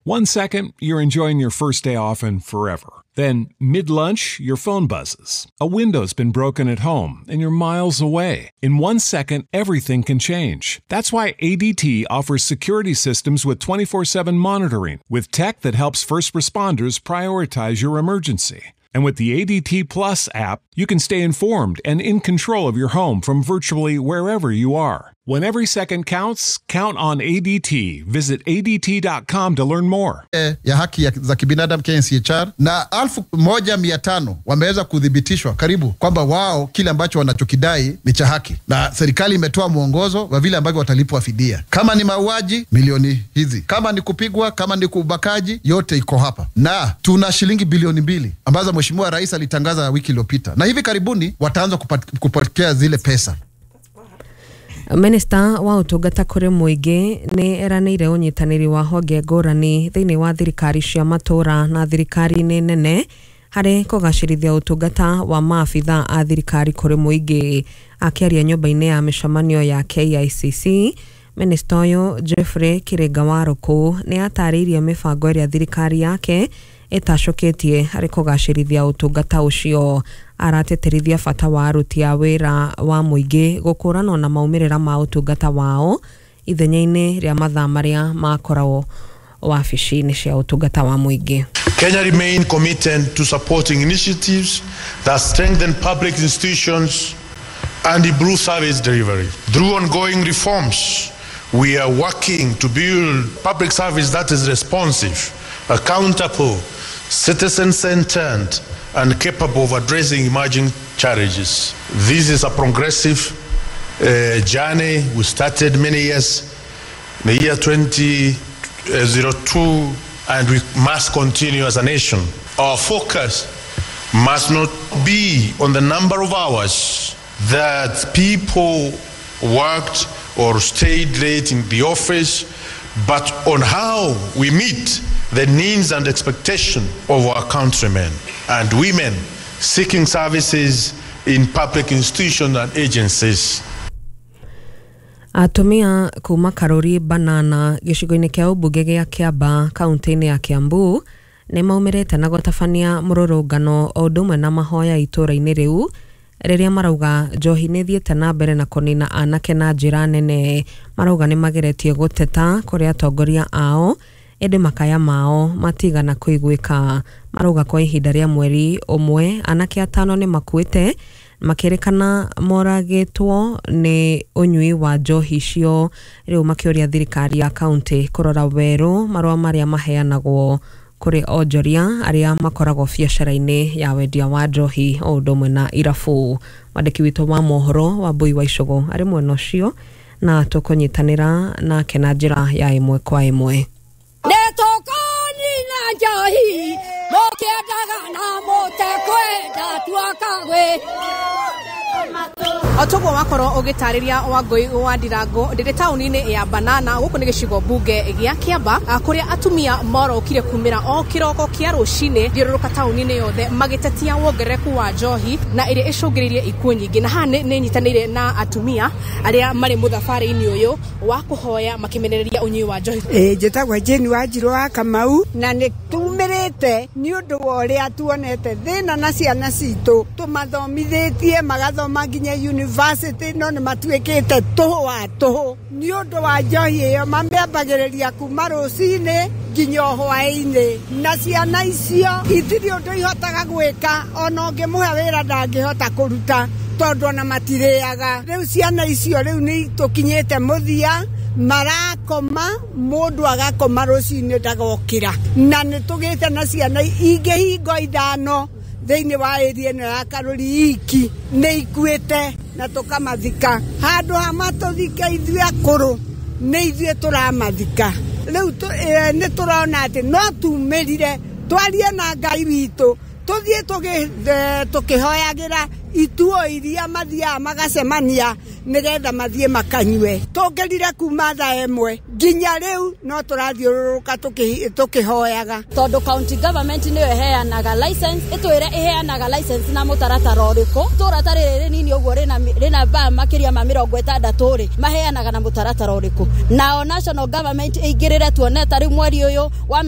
One second, you're enjoying your first day off and forever. Then, mid lunch, your phone buzzes. A window's been broken at home and you're miles away. In 1 second, everything can change. That's why ADT offers security systems with 24/7 monitoring, with tech that helps first responders prioritize your emergency. And with the ADT Plus app, you can stay informed and in control of your home from virtually wherever you are. When every second counts, count on ADT. Visit ADT.com to learn more. Ya haki za kibinadamu KNCHR na 1500 wameweza kuthibitishwa karibu kwamba wao kile ambacho wanachokidai ni cha haki, na serikali imetoa mwongozo wa vile ambavyo watalipwa fidia. Kama ni mauaji, milioni hizi, kama ni kupigwa, kama ni kubakaji, yote iko hapa, na tuna shilingi bilioni 2 ambazo Mheshimiwa Rais alitangaza wiki iliyopita, na hivi karibuni wataanza kupokea zile pesa. Minista wa ũtungata kũrĩ mũingĩ nĩ eranĩire ũnyitanĩri wa honge ngũrani thĩinĩ wa thirikari cia matũra na thirikari-inĩ nene harĩ kũgacĩrithia ũtungata wa maabitha a thirikari kũrĩ mũingĩ. Akĩaria nyũmba-inĩ ya mĩcemanio ya KICC, minista ũyũ Geoffrey Kĩrĩnga Warũkũ nĩ atarĩirie mĩbango ĩrĩa thirikari yake ĩtacũkĩtie harĩ kũgacĩrithia ũtungata ũcio. Aratĩtĩrithia bata wa aruti a wĩra wa mũingĩ gũkũranwo na maumĩrĩra ma ũtungata wao ithenya-inĩ rĩa mathaa marĩa makoragwo wabici-inĩ cia ũtungata wa mũingĩ. Kenya remain committed to supporting initiatives that strengthen public institutions and improve service delivery. Through ongoing reforms, we are working to build public service that is responsive, accountable, citizen-centered, and capable of addressing emerging challenges. This is a progressive journey we started many years, in the year 2002, and we must continue as a nation. Our focus must not be on the number of hours that people worked or stayed late in the office, but on how we meet the needs and expectation of our countrymen and women seeking services in public institutions and agencies. Atumia kuma Karuri Banana gĩcigo-inĩ kĩa ũmbunge gĩa Kĩamba kaunti-inĩ ya Kiambu nĩ maumĩrĩte na gũtabania mũrũrũngano o ũndũ ũmwe na mahoya itũũra-inĩ rĩu rĩrĩa marauga njohi nĩ ĩthiĩte na mbere na kũnina anake na njĩra nene. Marauga nĩ mageretie gũteta kũrĩ atongoria ao ĩndĩ makaya mao matigana kũiguĩka. Marauga kwa ihinda rĩa mweri ũmwe anake atano nĩ makuĩte makĩrĩkana moragĩtwo nĩ ũnyui wa njohi icio. Rĩu makĩũria thirikari ya kaunti kũrora werũ marũa marĩa maheanagwo kũrĩ onjoria arĩa makoragwo biacara-inĩ ya wendia wa njohi o ũndũ ũmwe na irabu. Mwandĩki witũ wa mohoro Wambui wa Icũgũ arĩ mwena ũcio na tũkũnyitanĩra nake na njĩra ya ĩmwe kwa ĩmwe. Nĩtũkũnina njohi mũkĩendaga na mũtekwenda tuakagwĩ. O toguo wakorwo ũgĩtarĩria Wangũi wa Ndirango, ndĩrĩ taũni-inĩ ya Banana, gũkũ nĩ gĩcigo mbunge gĩa Kĩamba, kũrĩa atumia morokire kumĩra o kĩroko kĩa rũcinĩ thiũrũrũka taũni-inĩ yothe magĩtetia wongerereku wa njohi na ĩrĩa ĩcũngĩrĩirie ikuũ nyingĩ. Na haha nĩ nyitanĩire na atumia arĩa marĩ mũthabarĩ-inĩ ũyũ wa kũhoya makĩmenereria ũnyui wa njohi. Ĩĩ, njĩtagwo Jane Wanjirũ wa Kamau na nĩ tumĩrĩte nĩ ũndũ wa ũrĩa tuonete thĩna na ciana citũ tũmathomithĩtie magathoma nginya university no nĩ matuĩkĩte tũhũ wa tũhũ nĩ ũndũ wa njohi ĩyo mamĩambagĩrĩria kuma rũcinĩ nginya o hwaĩ-inĩ na ciana icio itirĩ ũndũ ihotaga gwĩka ona ũngĩmũhe wĩra ndangĩhota kũruta tondũ ona matirĩaga. Rĩu ciana icio rĩu nĩ tũkinyĩte mũthia marakoma mũndũ agakoma rũcinĩ ndagokĩra na nĩ tũgĩte na ciana ingĩ hingo 5 thĩinĩ wa area ĩno ya Karũri iki nĩ ikuĩte na tũkamathika handũ ha matũthike ithuĩ akũrũ nĩ ithuĩ tũramathika rĩu. Nĩ tũrona atĩ no tumĩrire twarie na Ngai witũ. Tuthiĩ tũkĩhoyagĩra ituo iria mathiaga magacemania nĩgetha mathiĩ makanyue. Tũngĩrire kuma thaa 1 nginya rĩu no tũrathiũrũrũka tũkĩhoyaga. Tondũ county government nĩyo ĩheanaga license, ĩtwĩre ĩheanaga license na mũtaratara ũrĩkũ. Itũũra ta rĩrĩ rĩnini ũguo rĩna baa makĩria ma 60 rĩ, maheanaga na mũtaratara ũrĩkũ. Nao national government ĩingĩrĩre tuone ta rĩu mweri ũyũ wa